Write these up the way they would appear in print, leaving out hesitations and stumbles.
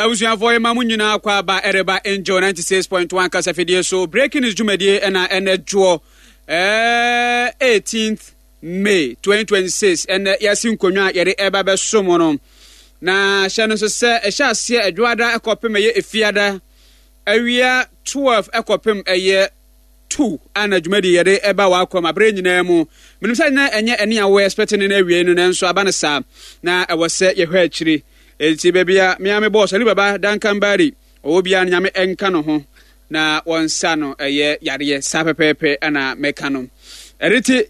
Abusuafoɔ yɛma mo nyinaa kɔ aba ɛreba Angel 96.1 kasafidie so breaking news dwumadie ɛna ɛnɛ dwoɔ ɛɛ 18th May 2026 ɛnɛ yɛasi nkonnwa a yɛde ɛba bɛso mo no na hyɛ no nso sɛ ɛhyɛ aseɛ ɛdwoada ɛkɔpem ɛyɛ efiada awia 12 ɛkɔpem ɛyɛ tu a na dwumadi yɛde ɛba w'akwam abere nyinaa mu. Menim sɛ na ɛnyɛ ɛne a wo expect no na awiei no nanso aba no saa na ɛwɔ sɛ yɛhwɛ akyiri. Enti baabi a me ara me boss Ali Baba Duncan Barry ɔwɔ biara no Nyame nka no ho na wɔnsa no ɛyɛ yareɛ saa pɛpɛɛpɛ ɛna mɛka no. Ɛno nti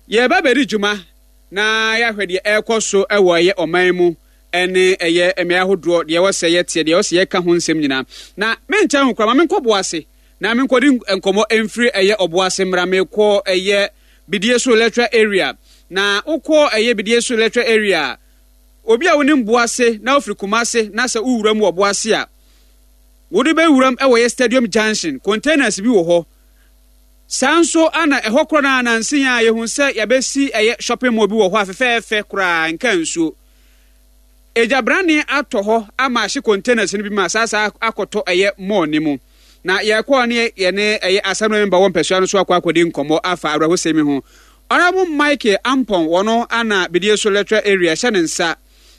yɛreba bɛdi dwuma na yɛahwɛ deɛ ɛrekɔ so ɛwɔ ɛyɛ ɔman mu ɛne ɛyɛ mmeae ahodoɔ deɛ ɛwɔ sɛ yɛteɛ deɛ ɛwɔ sɛ yɛka ho nsɛm nyinaa. Na menkyɛ ho koraa ma menkɔ boase Na menkɔdi nkɔmmɔ mfiri ɛyɛ Ɔboase mmra mekɔ ɛyɛ Bidie so electoral area. Na wokɔ ɛyɛ Bidie so electoral area a, obi a wonim Boase na wofiri Kumase na sɛ wowura mu wɔ Boase a, wode bɛwuram ɛwɔ yɛ Stadium Junction, containers bi wɔ hɔ. Saa nso ana ɛhɔ korɔ no a nanse a yɛhu sɛ yɛabɛsi ɛyɛ shopping mall bi wɔ hɔ a fɛfɛɛfɛ koraa nka nsuo. Egya brane atɔ hɔ ama ahye containers no bi ma saa saa akɔtɔ ɛyɛ mall no mu. Na yɛkɔɔ ne yɛne ɛyɛ assembly member wɔ mpɛsoa no so akɔ akɔdi nkɔmmɔ afa awerɛhosɛm yi ho. Honourable Michael Ampong wɔno ana Bidie so electoral area hyɛ ne nsa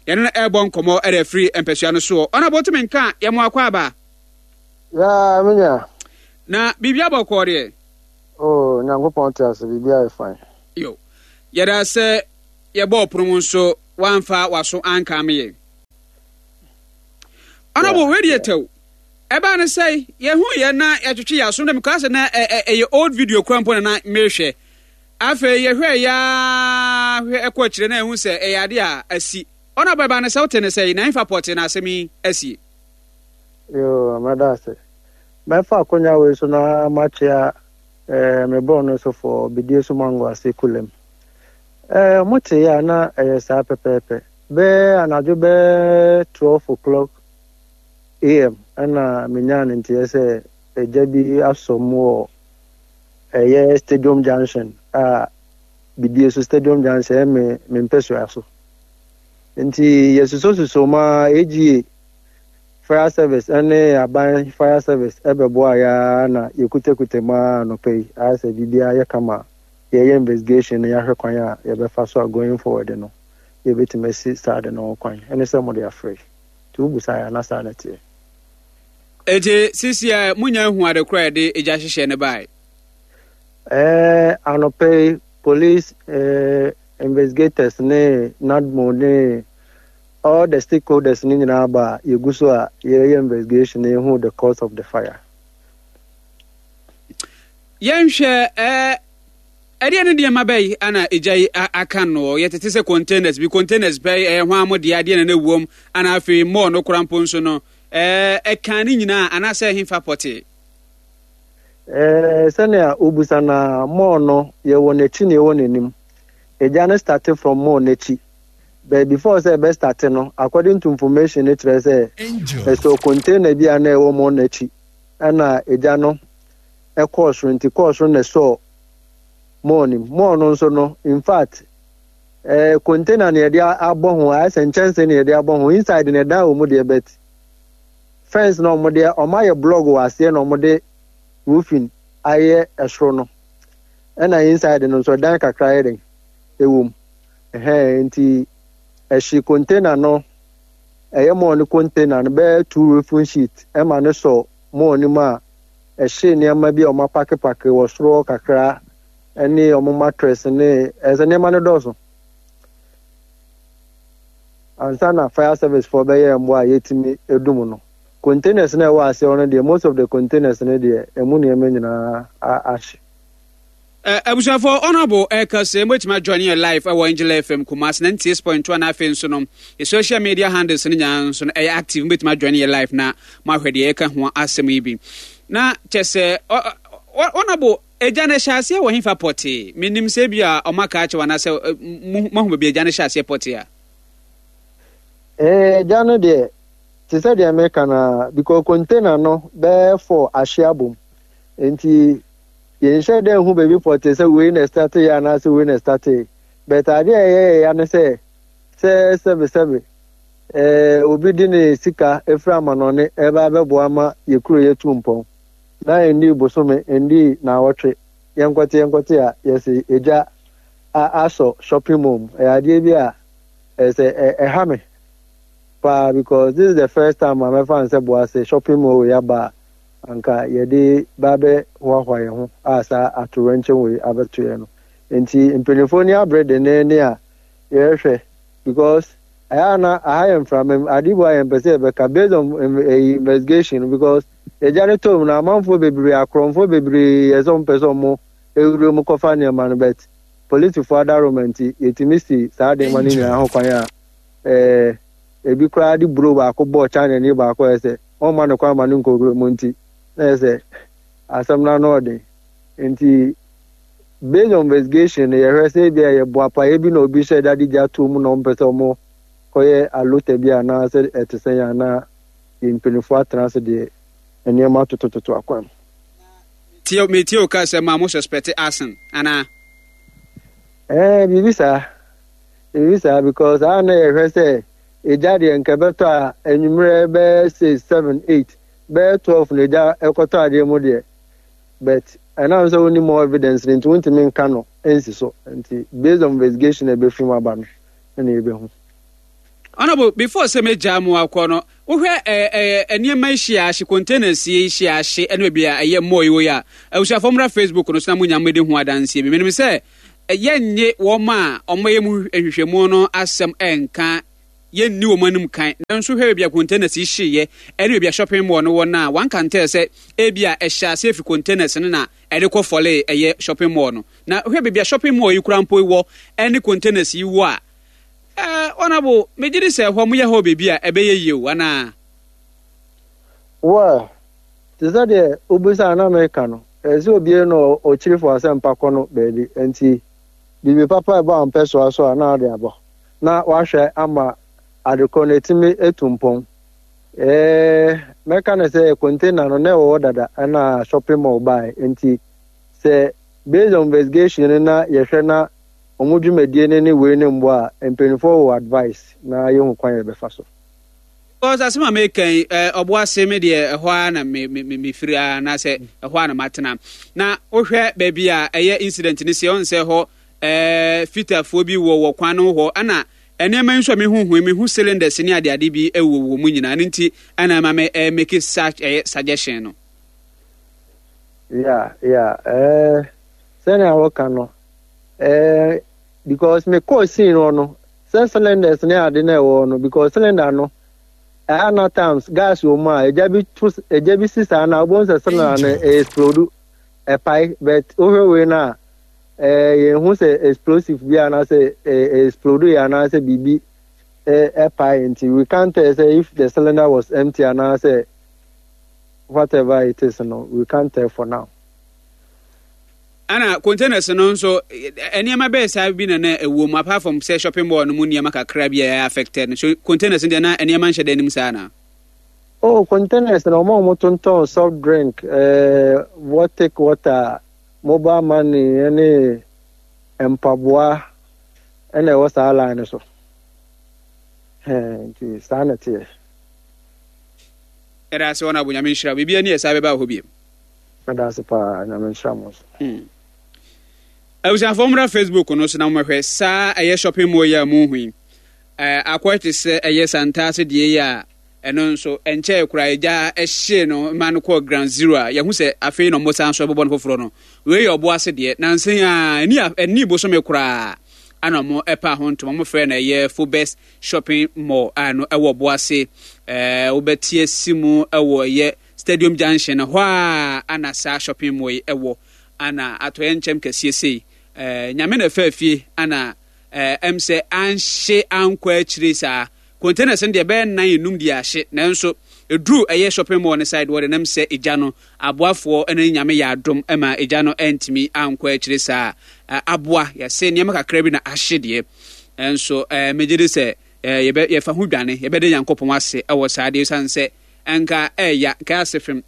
yɛne no ɛrebɔ nkɔmmɔ ɛde afiri mpɛsoa no soɔ. Honourable wotumi nka a yɛmo akɔ aba? Yeah, me nua. Na biribi abɔkɔɔ deɛ? Oh, Nyankopɔn te ase, biribi ayɛ fine. Yo, yɛda sɛ yɛbɔɔ pono mu nso woamfa w'aso anka me yɛ. Honorable, wei deɛ tɛw. Ɛbaa no sɛ yɛhu yɛ na yɛtwetwe yɛ aso na mekaa sɛ na ɛyɛ old video kora mpo na na mehwɛ. Afei yɛhwɛ yɛ hwɛ ɛkɔ akyire na yɛhu sɛ ɛyɛ ade a asi. Honorable, ɛbaa no sɛ wote ne sɛ na ɛmfa pɔte na asɛm yi asie. Yoo, mɛda ase. Mɛfa akonya wei so na makyea eh, me borɔ no sofoɔ Bidie so Mango ase Kulem. Eh, ɔmo te yɛ a na ɛyɛ saa pɛpɛɛpɛ. Bɛyɛ anadwo bɛyɛ 12 o'clock AM ɛna menyaa ne nteɛ sɛ egya bi asɔ mu wɔ ɛyɛ Stadium Junction a Bidie so Stadium Junction ɛyɛ me me mpɛsua so. Nti yɛsusɔsusɔ mu ara AGA Fire service ne aban fire service bɛboaa yɛ ara na yɛkutakuta mu ara anɔpa yi ayɛ sɛ biribiara yɛ kama a yɛyɛ investigation na yɛahwɛ kwan a yɛbɛfa so a going forward no yɛbɛtumi asi saa ade no ho kwan ɛne sɛ mode afrɛ yi nti wobusa yɛ a na saa na ɛteɛ. Enti seesei a monya ahu ade koro a yɛde egya hyehyɛɛ no bae? Ɛɛ, anɔpa yi police eh, investigators ne NADMO ne all the stakeholders no nyinaa ba a yɛgu so a yɛyɛ investigation na yɛhu the cause of the fire. Yɛnhwɛ ɛɛ ɛdeɛ ne nneɛma bɛyi ana egya yi aka no yɛtete sɛ containers bi containers bɛyi ɛyɛ hwan mo deɛ adeɛ na na ɛwom ana afei mall no kora mpo nso no ɛɛ ɛka ne nyinaa anaasɛ ɛhefa pɔtee. Ɛɛ sɛnea wobusa na mall no yɛwɔ n'akyi na yɛwɔ n'anim egya no starte from mall n'akyi. But before sɛ ɛbɛ starte no, according to information no kyerɛ sɛ ɛsɔ container bi a na ɛwɔ mall no akyi ɛna egya no ɛkɔɔ soro nti kɔɔ soro na ɛsɔɔ mall no mu. Mall no nso no, in fact, eh, container na yɛde abɔ ho, ayɛ sɛ nkyɛnse na yɛde abɔ ho, inside na ɛdan wɔ mu deɛ but fence na wɔde wɔn ayɛ blog wɔ aseɛ na wɔde roofing ayɛ ɛsoro no ɛna inside no nso ɛdan kakra yɛ den ɛwɔ mu. Ɛhɛn, nti ɛhye container no, ɛyɛ mall no container no bɛyɛ two roofing sheet ɛma no sɔ mall no mu a, ɛhye nneɛma bi a wɔn apakepake wɔ soro hɔ kakra ɛne wɔn mattress ne ɛsɛ nneɛma no dɔɔso. Ansa na fire service foɔ bɛyɛ mmoa a yɛtumi edum no. Containers no a ɛwɔ aseɛ hɔ no deɛ, most of the containers no deɛ, ɛmu nneɛma nyinaa ahye. Abusuafoɔ, Honourable ɛka sɛ mobɛtumi ajoin yɛn live ɛwɔ Angel FM Kumasi 96.2 na afei nso no yɛ social media handles no nyinaa nso no ɛyɛ active, mobɛtumi ajoin yɛn live na moahwɛ deɛ yɛka ho asɛm yi bi. Na kyɛ sɛ Honourable, agya no hyɛ aseɛ wɔ hefa pɔtee? Menim sɛ bi a ɔma ka akyɛw anaasɛ moahu baabi agya no hyɛ aseɛ pɔtee a. Agya no deɛ, te sɛ deɛ meka no a, because container no bɛyɛ four ahye abom. Nti Yɛnhyɛ da nhu baabi pɔtee sɛ wei na ɛstarteeɛ anaasɛ wei na ɛstarteeɛ. But adeɛ a ɛyɛ yɛn ya ne sɛ, sɛ sɛbesɛbe Eh, obi de ne sika efiri amanɔne ɛreba abɛboa ma yɛ kuro yi atu mpɔn. Na ɛnnii bosome, ɛnnii naawɔtwe, yɛnkɔte yɛnkɔte a, yɛse egya a asɔ shopping mall mu. Ɛyɛ adeɛ bi a ɛsɛ sɛ ɛha me paa because this is the first time a mɛfa no sɛ Boase shopping mall wei aba a anka yɛde ba abɛhoahoa yɛn ho a saa atowerɛnkyɛm wei abɛto yɛn no. Nti mpanimfoɔ ni abere denneennen a yɛrehwɛ because ɛyɛ a na aha yɛ mframa mu ade bu a yɛmpɛ sɛ yɛbɛka based on ɛyi investigation because yɛgya no tɔ mu na amanfoɔ bebree akorɔmfoɔ bebree yɛ sɛ wɔmpɛ sɛ wɔn ewura mu kɔfa nneɛma no but polisifoɔ adaroma nti yɛtumi si saa nneɛma no nyinaa ho kwan a ɛɛ ebi koraa de buro baako bɔɔ China ni baako yɛ sɛ wɔmma no kwan ma no nkɔwura mu nti na yɛ sɛ asɛm no ano ɔden nti Based on investigation no yɛhwɛ sɛ ebia ɛyɛ boapayɛ bi na obi hyɛ da de gya too mu na wɔmpɛ sɛ wɔn kɔyɛ alota bi anaa sɛ ɛte sɛn a na yɛn mpanyinfoɔ atena ase deɛ nneɛma atotototo akwan mu. Tie metie wo ka sɛ ma mo suspect arson anaa? Ɛɛ biribi saa biribi saa because a na yɛhwɛ sɛ egya deɛ nka ɛbɛtɔ a anwummerɛ bɛyɛ six seven eight bɛyɛ 12 na egya ɛkɔtɔ adeɛ mu deɛ But ɛnam sɛ wonni more evidence no nti wontumi nka no nsi so nti based on investigation a ɛbɛfiri mu aba no ɛna yɛbɛhu. Honourable, before sɛ mɛgyaa mu akɔ no, wohwɛ ɛɛ ɛɛ nneɛma yi hyia ahye, containers yi hyia ahye ɛne baabi a ɛyɛ mall yi wɔ yi a, abusuafoɔ mmra Facebook no so na mo nya mmɛdi ho adanseɛ bi. Menim sɛ yɛnnye wɔn a wɔyɛ mu nhwehwɛmu no asɛm ɛnka yɛnni wɔn anim kan. Nanso hwɛ baabi a containers yi hyeeɛ ne baabi a shopping mall no wɔ no a, one can tell sɛ ebia ɛhyɛ aseɛ fi containers no na ɛde kɔ fɔlee ɛyɛ shopping mall no. Na hwɛ baabi a shopping mall yi koraa mpo wɔ ne containers yi wɔ a, eh, Honourable, megye di sɛ ɛhɔ moyɛ hɔ baabi a ɛbɛyɛ yie o, anaa? Well, te sɛ deɛ wobisaa na meka no, ɛsɛ sɛ obiara na ɔkyiri fo asɛmpa kɔ no baabi. Nti, biribi papa a ɛba wo mpɛsoa so a na wode abɔ. na wahwɛ ama adekorɔ no atumi atu mpɔn. Ɛɛ, mɛka no sɛ container no na ɛwɔ hɔ dada ɛna shopping mall bae nti sɛ based on investigation no na yɛhwɛ na wɔn dwumadie no ne wei no mbɔ a, mpanimfoɔ wɔ advice na yɛhu kwan yɛbɛfa so. Because asɛm a meka yi, ɔbo ase me deɛ ɛhɔ ara na me me me firi ara anaasɛ ɛhɔ ara na matena. Na wohwɛ baabi a ɛyɛ incident no si, ɔn sɛ hɔ Ɛɛ, fitafoɔ bi wɔ wɔ kwan no ho hɔ, ɛna nneɛma yi nso a mehu ho yi, mehu cylinders ne adeade bi wɔ wɔ mu nyinaa, ɛno nti ɛna ɛma me ɛɛ make such ɛyɛ suggestion no. Yeah, yeah, ɛɛ, sɛnea wɔka no, ɛɛ, because me kɔɔ scene hɔ no, sɛ cylinders ne ade na ɛwɔ hɔ no, because cylinder no, ɛha na times gas wɔ mu a, egya bi to, egya bi si saa na wobɛhu sɛ cylinder no explode, ɛpae, but wohwɛ wei no a, Eh, yɛnhu sɛ explosive bi anaasɛ eh, explode yɛ anaasɛ biribi eh, ɛpae nti we can't tell sɛ if the cylinder was empty anaasɛ whatever it is no we can't tell for now. Ana containers no nso nneɛma bɛyɛ saa bi na na ɛwɔ mu apart from sɛ shopping mall no mu nneɛma kakra bi a ɛyɛ affected no so containers no deɛ na nneɛma nhyɛ da anim saa na. Oh containers na wɔn a wɔtontɔn soft drink eh, water water Mobile money ne mpaboa na ɛwɔ saa line no so. Hɛn nti saa na ɛteɛ. Yɛda ase Honourable Nyame nhyira wo. Biribi ani ɛsaa bɛba wɔ hɔ biom. Meda ase paa Nyame nhyira mo nso. Hmm. Abusuafoɔ mmra Facebook no so na mommɛhwɛ saa ɛyɛ shopping mall yi a mohu yi. Akɔyɛ te sɛ ɛyɛ Santase deɛ yi a Ɛno nso, ɛnkyɛe koraa egya hyee no ma no kɔɔ ground zero a yɛahu sɛ afei na wɔsan so bɛbɔ no foforɔ no. Wei yɛ ɔbo ase deɛ. Nansa yi ara, ɛnni a ɛnnii bosome koraa ana wɔpaa ho ntoma. Wɔfrɛ no ɛyɛ Fobes Shopping Mall a ɛno ɛwɔ ɔbo ase. Ɛɛ wobɛte asi mu ɛwɔ ɛyɛ Stadium Junction hɔ a ana saa shopping mall yi ɛwɔ. Ana atɔeɛ nkyɛm kɛseɛ sei. Ɛɛ Nyame na ɛfaa fie ana ɛɛ ɛm sɛ anhye ankɔ akyire saa. Containers no deɛ ɛbɛyɛ nnan nnum deɛ ahye nanso ɛduru ɛyɛ shopping mall no side hɔ deɛ nam sɛ egya no aboafoɔ ne Nyame yɛ adom ma egya no antumi ankɔ akyire saa aboa yɛse nneɛma kakra bi na ahye deɛ nanso megye di sɛ yɛbɛ yɛfa ho dwane yɛbɛde Nyankopɔn ase ɛwɔ saa deɛ ɛsiane sɛ ɛnka ɛɛya nka ase fem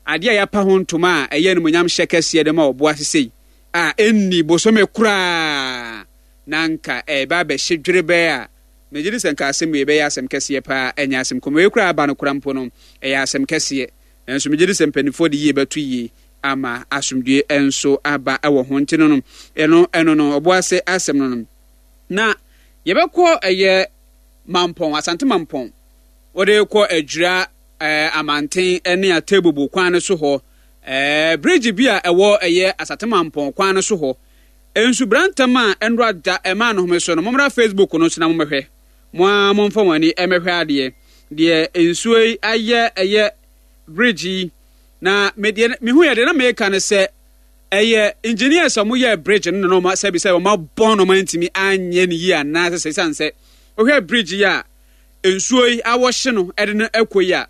adeɛ a yɛapa ho ntoma a ɛyɛ animuonyam hyɛ kɛseɛ de ma ɔboa sesei a ɛnni bosome koraa na nka ɛɛba abɛhye dwerebɛɛ a. Megye di sɛ nka asɛm wei bɛyɛ asɛm kɛseɛ paa, ɛnyɛ asɛm kumaa. Wei koraa aba no koraa mpo no, ɛyɛ asɛm kɛseɛ. Nanso megye di sɛ mpanimfoɔ de yie bɛto yie ama asomdwoeɛ nso aba wɔ ho. Nti no no, ɛno ɛno no, ɔboase asɛm no no. Na yɛbɛkɔ ɛyɛ Mampɔn, Asante Mampɔn. Wode kɔ Adwira ɛɛ Amanten ne Atebubu kwan no so hɔ. Ɛɛ bridge bi a ɛwɔ ɛyɛ Asante Mampɔn kwan no so hɔ. Nsubrantam a ɛnora da ɛmaa no home so no, mommra Facebook no so na mommɛhwɛ. Mo ara momfa mo ani mmɛhwɛ adeɛ. Deɛ nsuo yi ayɛ ɛyɛ bridge yi. Na me deɛ mehu yɛ deɛ na meka no sɛ ɛyɛ engineers a wɔyɛɛ bridge no na wɔn sɛbi sɛ wɔn abɔn na wɔn antumi anyɛ no yie anaasɛ sɛ ɛsiane sɛ wohwɛ bridge yi a nsuo yi awɔhye no ɛde no ɛkɔ yi a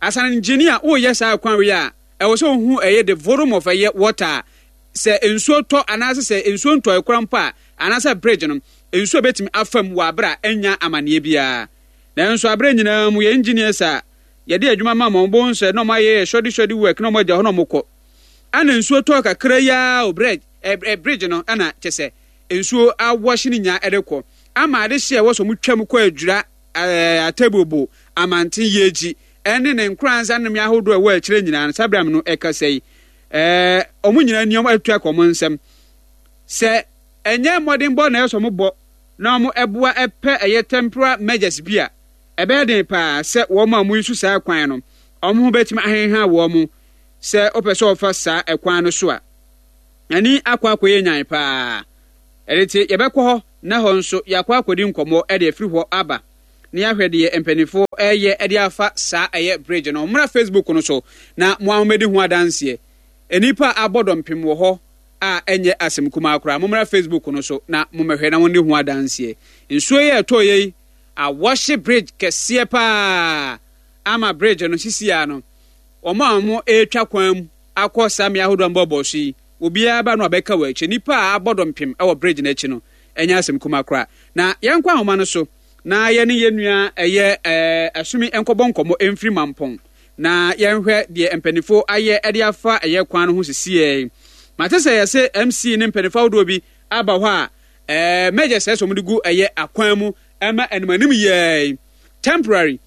asan engineer woyɛ saa kwan wei a ɛwɔ sɛ wohu ɛyɛ the volume of ɛyɛ water a sɛ nsuo tɔ anaasɛ sɛ nsuo ntɔe koraa mpo a, anaasɛ bridge no, nsuo bɛtumi afa mu wɔ aberɛ a ɛnnya amaneɛ biara. Nanso aberɛ nyinaa mu, yɛn engineers a yɛde adwuma ma wɔn, wobɛhu sɛ na wɔayɛ yɛ shoddy shoddy work na wɔagya hɔ na wɔkɔ. Ɛna nsuo tɔɔ kakra yi ara o, bridge, ɛ, bridge no, ɛna kyɛ sɛ nsuo awɔhye no nyinaa ɛde kɔ. Ama adehyeɛ a ɛwɔ sɛ wɔtwa mu kɔ adwira ɛɛ Atebubu, Amanten, Yeji, ɛne ne nkoranza nnome ahodoɔ a ɛwɔ akyire nyinaa no, saa berɛ a me no ɛkasa yi, ɛɛ wɔn nyinaa ni wɔn atu akɔ wɔn nsam. Sɛ ɛnyɛ mmɔdenbɔ na ɛyɛ sɛ wɔbɔ na wɔn ɛboa ɛpɛ ɛyɛ temporal measures bi a, ɛbɛyɛ den paa sɛ wɔn a wɔyi so saa kwan no, wɔn ho bɛtumi ahenha wɔn sɛ wopɛ sɛ wɔfa saa ɛkwan no so a. Ani akɔ akɔyɛ nyan paa. Ɛno nti, yɛbɛkɔ hɔ na hɔ nso yɛakɔ akɔdi nkɔmmɔ de afiri hɔ aba na yɛahwɛ deɛ mpanimfoɔ reyɛ de afa saa ɛyɛ bridge no. Mommra Facebook no so na mo ara mommɛdi ho adanseɛ. Nnipa a abɔ dɔmpem wɔ hɔ a ɛnyɛ asɛm kumaa koraa. Mommra Facebook no so na mommɛhwɛ na monni ho adanseɛ. Nsuo yi a ɛtɔeɛ yi awɔhye bridge kɛseɛ paa ama bridge no sisi ara no wɔn a wɔretwa kwan mu akɔ saa mmea ahodoɔ a mobɔbɔɔ so yi Obiara ba no a bɛka wɔ akyire. Nnipa a abɔ dɔmpem wɔ bridge no akyi no, ɛnyɛ asɛm kumaa koraa. Na yɛnkɔ ahoma no so na yɛne yɛn nua ɛyɛ ɛɛ Asumi nkɔbɔ nkɔmmɔ mfiri Mampɔn na yɛnhwɛ deɛ mpaninfoɔ ayɛ de afa ɛyɛ kwan no ho sisiɛ yi. Mate sɛ yɛse MC ne mpaninfoɔ ahodoɔ bi aba hɔ a ɛɛ measures ɛsɛ wɔn de gu ɛyɛ akwan mu ɛma anim anim yɛɛ temporary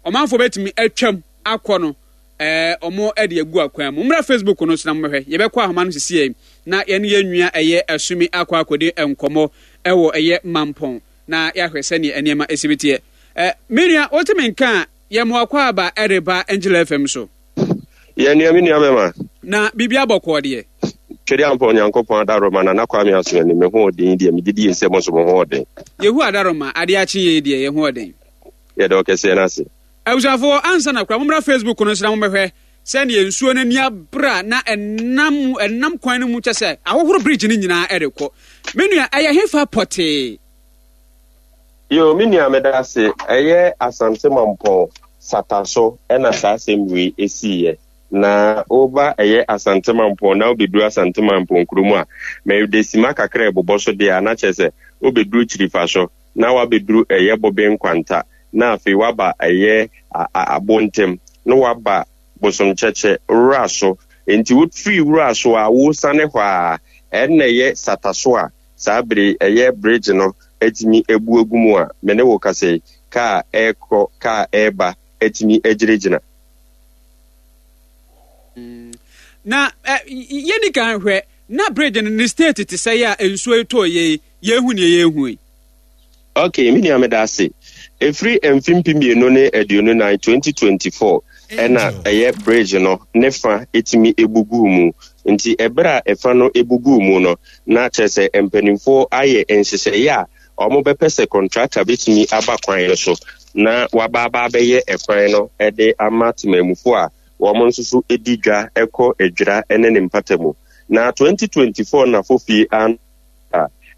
ɔmanfoɔ bɛtumi atwam akɔ no ɛɛ ɔmo de agu akwan mu. Mommra Facebook no so na mommɛhwɛ. Yɛbɛkɔ ahoma no sisiɛ na yɛne yɛn nua ɛyɛ Asumi akɔ akɔdi nkɔmmɔ ɛwɔ ɛyɛ Mampɔn na yɛahwɛ sɛdeɛ nneɛma ɛsi bi teɛ. Ɛ me nua wote me nka a yɛ mo akwaaba ɛreba Angel FM so. Yɛ nua me nua bɛma. Na biribi abɔkɔɔ deɛ. Twɛde ampa Onyankopɔn adaworoma Nana Kwame Asomani me ho ɔden yi deɛ megye die sɛ mo nso mo ho ɔden. Yehowa adaworoma adeɛ akye yei deɛ yɛ ho ɔden. Yɛda ɔkɛseɛ no ase. Abusuafoɔ, ansa na koraa mommra Facebook no so na mommɛhwɛ sɛdeɛ nsuo no ani abere a na ɛnam ɛnam kwan no mu kyɛ sɛ ahohoro bridge no nyinaa ɛrekɔ. Me nua, ɛyɛ hefa pɔtee? Yo, me nua meda ase. Ɛyɛ Asante Mampɔn Sata so ɛna saa asɛm wei esiiɛ. Na woba ɛyɛ Asante Mampɔn na wobɛduru Asante Mampɔn kuro mu a, mede sima kakra ɛbobɔ so deɛ a na kyerɛ sɛ wobɛduru Kyirifa so. na wabɛduru ɛyɛ bobe nkwanta, na afei waba ɛyɛ abontem, na waba bosomkyɛkyɛ, wura so. Enti wofiri wura so a, wosiane hɔ a, ɛnna ɛyɛ sataso a saa bere yi ɛyɛ bridge no atumi abu agu mu a me ne wo kasa yi, kaa ɛrekɔ, kaa ɛreba atumi agyinagyina. Na yɛnni kan hwɛ, na bridge no ne state te sɛ yɛ a nsuo yi tɔɔ yɛ yi, Yɛhu nea yɛrehu yi. Ok, me nua meda ase. Ɛfiri mfe 2024, 2024, ɛna ɛyɛ bridge no ne fa ɛtumi ɛbu guu mu. Nti ɛberɛ a ɛfa no ɛbu guu mu no, na kyerɛ sɛ mpanimfoɔ ayɛ nhyehyɛeɛ a wɔn bɛpɛ sɛ contractor bɛtumi aba kwan no so na waba aba abɛyɛ ɛkwan no de ama temanmufoɔ a wɔn nso so di dwa kɔ Adwira ne ne mpata mu. Na 2024 na Fofie an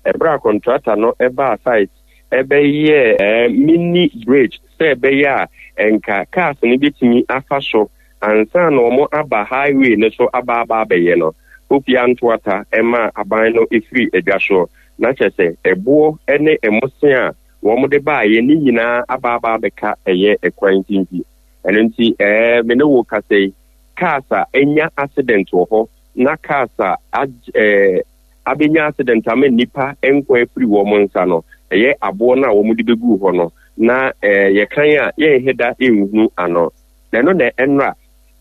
Ɛberɛ a kɔntrata no baa site bɛyɛɛ mini bridge sɛ ɛbɛyɛ a nka cars no bɛtumi afa so ansa na wɔn aba highway no so aba aba abɛyɛ no, Pope Antoata maa aban no firii adwa soɔ. Na kyerɛ sɛ ɛboɔ ne mmosea a wɔn de baeɛ ne nyinaa aba aba abɛka ɛyɛ ɛkwan nti. Ɛno nti ɛɛ me ne wo kasa yi, cars a anya accident wɔ hɔ na cars a ɛɛ abɛnya accident ama nnipa nkwa afiri wɔn nsa no, ɛyɛ aboɔ no a wɔde bɛguu hɔ no, na yɛkan a yɛnhe da nhunu ano. Na ɛno na ɛnora,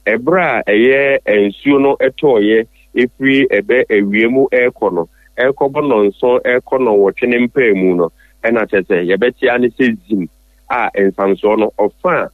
ɛberɛ a ɛyɛ nsuo no tɔɔeɛ ɛfiri ɛbɛ awia mu rekɔ no, ɛrekɔbɔ nnɔnson rekɔ nnɔnwɔtwe ne mpaemu no, ɛna kyerɛ sɛ yɛbɛte ara ne sɛ zim a nsamsoɔ no ɔfa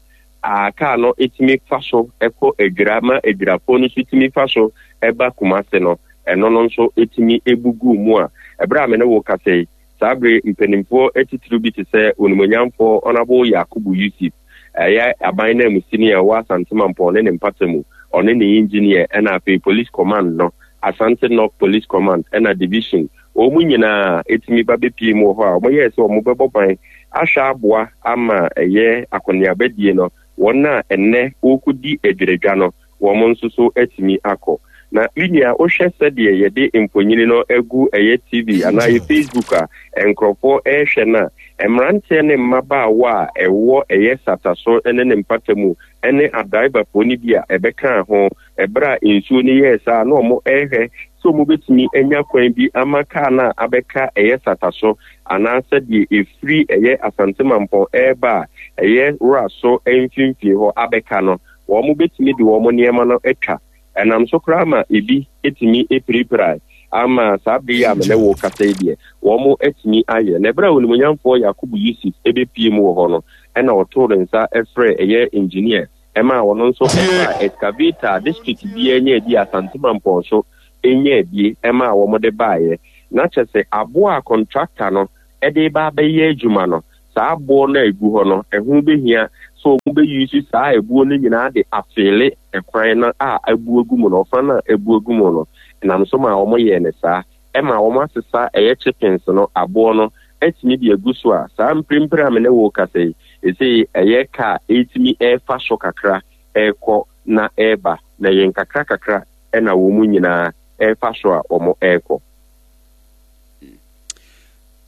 a kaa no tumi fa so kɔ Adwira ma Adwirafoɔ no nso tumi fa so ba Kumase no, ɛno no nso tumi bu guu mu a ɛberɛ a me ne wo kasa yi, saa bere mpanimfoɔ atitiriw bi te sɛ Onimuonyamfoɔ Honourable Yakubu Yusuf, ɛyɛ aban nanmusini a ɛwɔ Asante Mampɔn ne ne mpata mu, ɔne ne engineer ɛna afei Police Command no, Asante North Police Command ɛna Division, wɔn nyinaa tumi ba bɛpie mu wɔ hɔ a wɔyɛɛ sɛ wɔbɛbɔ ban ahwɛ aboa ama ɛyɛ akɔneabadie no, wɔn a ɛnnɛ wɔrekɔdi adwiradwa no, wɔn nso so atumi akɔ. Na me nua, wohwɛ sɛdeɛ yɛde mfonini no agu ɛyɛ TV anaa ɛyɛ Facebook a nkurɔfoɔ rehwɛ no a, mmeranteɛ ne mmabaawa a ɛwɔ ɛyɛ Sataso ne ne mpata mu ne adraivafoɔ no bi a ɛbɛkaa ho ɛberɛ a nsuo no yɛɛ saa na wɔrehwɛ sɛ wɔbɛtumi anya kwan bi ama kaa no a abɛka ɛyɛ Sataso anaasɛ deɛ ɛfiri ɛyɛ Asante Mampɔn reba a ɛyɛ Wuraso mfimfini hɔ abɛka no, wɔbɛtumi de wɔn nneɛma no atwa. Ɛnam so koraa ma ebi tumi pirapirae ama saa bere yi a me ne wo rekasa yi deɛ, wɔatumi ayɛ. Na ɛberɛ a Onimuonyamfoɔ Yakubu Yusuf bɛpue mu wɔ hɔ no, ɛna ɔtoo ne nsa frɛɛ ɛyɛ engineer ɛmaa ɔno nso faa excavator a district biara nyaa bi, Asante Mampɔn so nyaa bi ɛmaa wɔde baeɛ. Na kyerɛ sɛ aboɔ a contractor no de reba abɛyɛ adwuma no, saa aboɔ no a ɛgu hɔ no, ɛho bɛhia sɛ wɔbɛ use saa ɛbuo no nyinaa de afeele ɛkwan no a abu agu mu no, ɔfa no a abu agu mu no. Ɛnam so maa wɔyɛɛ no saa. Ɛma wɔasesa ɛyɛ chippings no, aboɔ no, atumi de agu so a, saa mprempren a me ne wo rekasa yi, ɛsei ɛyɛ kaa ɛretumi ɛrefa so kakra ɛrekɔ na ɛreba, na ɛyɛ nkakra kakra na wɔn nyinaa ɛrefa so a wɔrekɔ.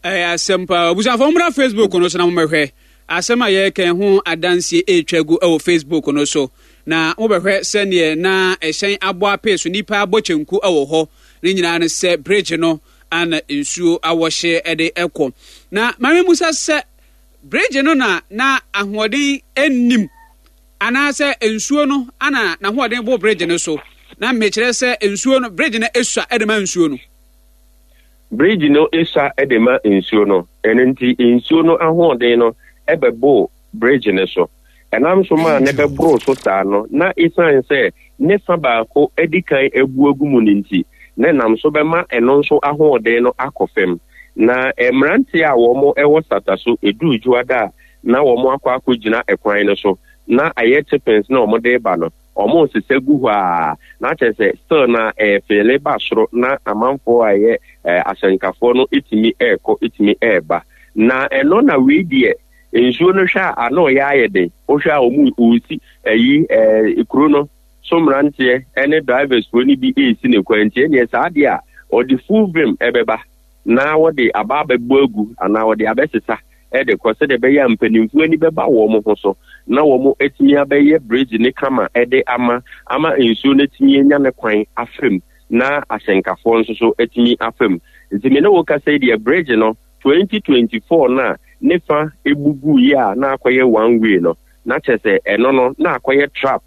Ɛyɛ asɛm paa. Abusuafo mommra Facebook no so na mommɛhwɛ asɛm a yɛreka ho adanseɛ ɛretwa gu wɔ Facebook no so. Na mobɛhwɛ sɛdeɛ na ɛhyɛn abɔ apee so, nnipa abɔ kyenku wɔ hɔ. Ne nyinaa no sɛ bridge no ana nsuo awɔhye de kɔ. Na maame musa sɛ bridge no na na ahoɔden nnim anaasɛ nsuo no ana n'ahoɔden bo bridge no so. Na mekyerɛ sɛ nsuo no bridge no esua de ma nsuo no. Bridge no sua de ma nsuo no, ɛno nti nsuo no ahoɔden no bɛboo bridge no so. Ɛnam so maa no bɛboroo so saa no, na esiane sɛ ne fa baako adi kan abu agu mu no nti, na ɛnam so bɛma ɛno nso ahoɔden no akɔ fam. Na mmeranteɛ a wɔwɔ Sata so, ɛduru Dwoada a, na wɔakɔ akɔgyina kwan no so, na ayɛ chippings na wɔde reba no, Wɔresesa gu hɔ aa na kyerɛ sɛ still na ɛɛfeele ba soro na amanfoɔ a ɛyɛ ahyɛnkafoɔ no tumi ɛɛkɔ tumi ɛɛba. Na ɛno na wei deɛ nsuo no hwɛ a ano yɛ ayɛ den. Wohwɛ a wɔn wɔresi ɛyi ɛɛ kuro no so mmeranteɛ ɛne drivers foɔ no bi ɛresi ne kwan nti ɛneɛ saa deɛ a ɔde full vim ɛbɛba na wɔde aba abɛbɔ agu anaa wɔde abɛsesa de kɔ sɛdeɛ ɛbɛyɛ a mpanimfoɔ ani bɛba wɔn ho so na wɔatumi abɛyɛ bridge no kama de ama ama nsuo no atumi anya ne kwan afa mu na ahyɛnkafoɔ nso so atumi afa mu. Nti me ne wo kasa yi deɛ bridge no 2024 no a ne fa ebu guiɛ a na akɔyɛ one way no na kyerɛ sɛ ɛno no na akɔyɛ trap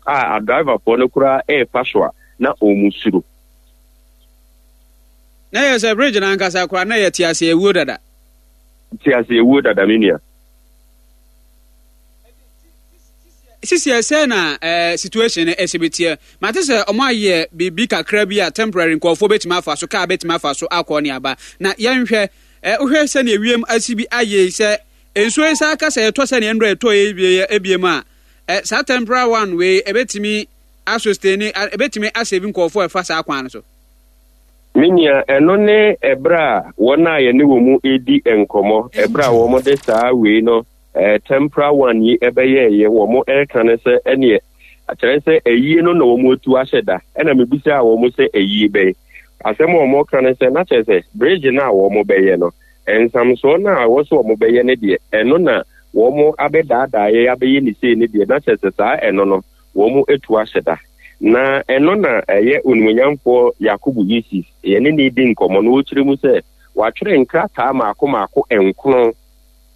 a adriverfoɔ no koraa ɛrefa so a na wɔn suro. Na yɛ sɛ bridge no ankasa koraa na yɛte ase awuo dada. Te ase ewuo dada me nua. Sisi ɛsɛ na eh, situation no ɛsɛ bɛtiɛ. Mate sɛ ɔmo ayɛ biribi kakra bi a temporary nkurɔfoɔ bɛtumi afa so, kaa bɛtumi afa so akɔ ne aba. Na yɛnhwɛ, eh, wohwɛ sɛnea ewiem asi bi ayɛ yi sɛ nsuo yi saa ka sɛ ɛtɔ sɛnea nnora ɛtɔ yi wie ebiem a, eh, saa temporary one wei ɛbɛtumi asosteni, ɛbɛtumi asave nkurɔfoɔ a ɛfa saa kwan no so. Me nua, ɛno ne ɛberɛ a wɔn a yɛne wɔn redi nkɔmmɔ, ɛberɛ a wɔde saa wei no, eh, temporal one yi ɛbɛyɛɛyɛ, wɔn ɛreka no sɛ ɛneɛ, kyerɛ sɛ ayie no na wɔn atu ahyɛ da. Ɛna mebisaa wɔn sɛ ayie bɛn? Asɛm a wɔn ka no sɛ, na kyerɛ sɛ bridge no a wɔn bɛyɛ no, nsamsoɔ no a ɛwɔ sɛ wɔn bɛyɛ no deɛ, ɛno na wɔn abɛdaadaa yɛn abɛyɛ ne sei no deɛ, na kyerɛ sɛ saa ɛno no, wɔatu ahyɛ da. Na ɛno na ɛyɛ Onimuonyamfoɔ Yakubu Yusuf, yɛne no redi nkɔmmɔ na ɔrekyerɛ mu sɛ, Wɔatwerɛ nkrataa mmaako mmaako nkron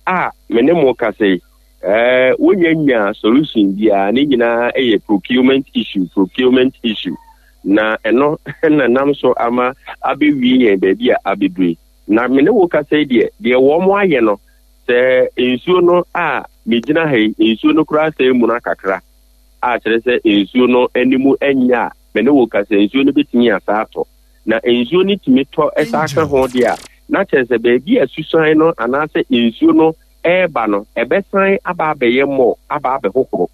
a me ne mo kasa yi, eh, wonya nyaa solution biara, ne nyinaa yɛ procurement issue, procurement issue. Na ɛno na nam so ama abɛwie yɛn baabi a abɛduru yi. Na me ne wo kasa yi deɛ, deɛ wɔn ayɛ no, sɛ nsuo no a megyina ha yi, nsuo no koraa sɛ muna kakra, a kyerɛ sɛ nsuo no anim nyɛ a, me ne wo kasa nsuo no bɛtumi asa atɔ. Na nsuo no tumi tɔ san ka ho deɛ a, na kyerɛ sɛ baabi a susan no anaasɛ nsuo no reba no, ɛbɛsan aba abɛyɛ mmɔ aba abɛhohoro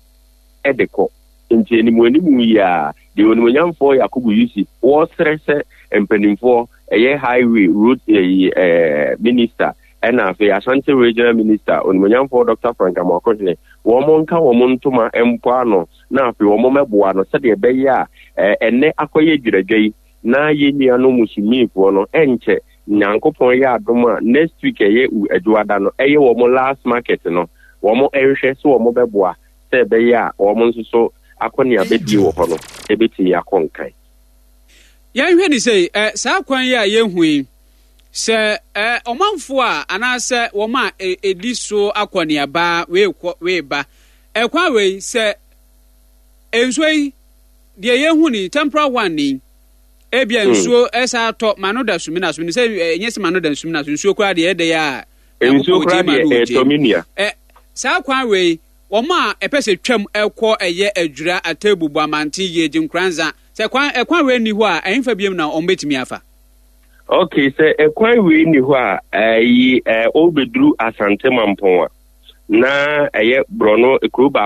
de kɔ. Nti animuanimu yi ara, deɛ Onimuonyamfoɔ Yakubu Yusuf wɔresrɛ sɛ mpanimfoɔ, ɛyɛ Highway, Road ɛyi ɛɛ Minister, ɛna afei Ashanti Regional Minister, Onimuonyamfoɔ Dr. Frank Amoakohene, wɔn nka wɔn ntoma mpo ano na afei wɔn mmɛboa no sɛdeɛ ɛbɛyɛ a ɛnnɛ akɔyɛ dwiradwa yi na yɛn nuanom Muslimifoɔ no ɛnkyɛ Nyankopɔn yɛ adom a next week ɛyɛ Adwoada no ɛyɛ wɔn last market no wɔn nhwɛ sɛ wɔn bɛboa sɛ ɛbɛyɛ a wɔn nso so akɔneabadie wɔ hɔ no ɛbɛtumi akɔ nkan. Yɛnhwɛ ne sei, ɛ, saa kwan yi a yɛhu yi, sɛ ɛ, ɔmanfoɔ a anaasɛ wɔn a ɛ, ɛdi so akɔneaba wei kɔ wei ba, ɛkwan wei sɛ nsuo yi deɛ yɛhu ni temporal one ni ebia hmm. nsuo ɛsa atɔ ma no da sumina so sɛ ɛnyɛ sɛ ma no da sumina so nsuo koraa deɛ ɛdɛ yɛ a nsuo koraa deɛ ɛtɔ mi nua ɛ saa kwan wei wɔn a ɛpɛ sɛ twam ɛkɔ ɛyɛ adwira atebu bu amante yie gye nkoranza sɛ kwan ɛkwan wei ni hɔ a ɛnfa biem na wɔn bɛtumi afa. Ok sɛ ɛkwan wei ni hɔ a ɛyi ɛ ɔbɛduru asante mampɔn a na ɛyɛ borɔno kuro baako.